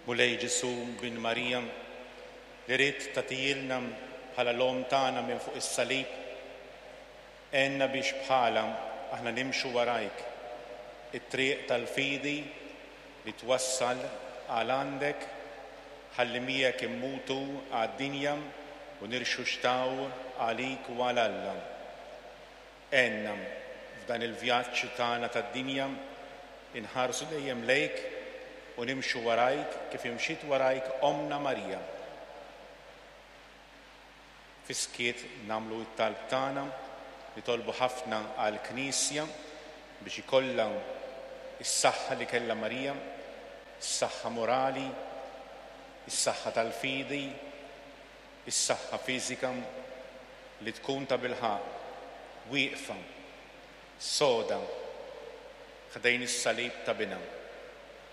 Mulej Ġesù bin Marija, li ridt tagħtihielna bħala l-Omm tagħna minn fuq is-salib, għenna biex bħalha aħna nimxu warajk it-triq tal-fidi li twassal għal għandek ħalli miegħek immutu għad-dinja u nirxuxtaw għalik u għal Alla. Għenna f'dan il-vjaġġ tagħna tad-dinja inħarsu dejjem lejk u nimxu warajk kif imxiet warajk Ommna Marija. Fis-skiet nagħmlu t-talb tagħna, nitolbu ħafna għall-Knisja biex ikollha s-saħħa li kellha Marija, is-saħħa morali, is-saħħa tal-fidi, is-saħħa fiżika li tkun tabilħaqq wieqfa soda ħdejn is-salib ta' Binha.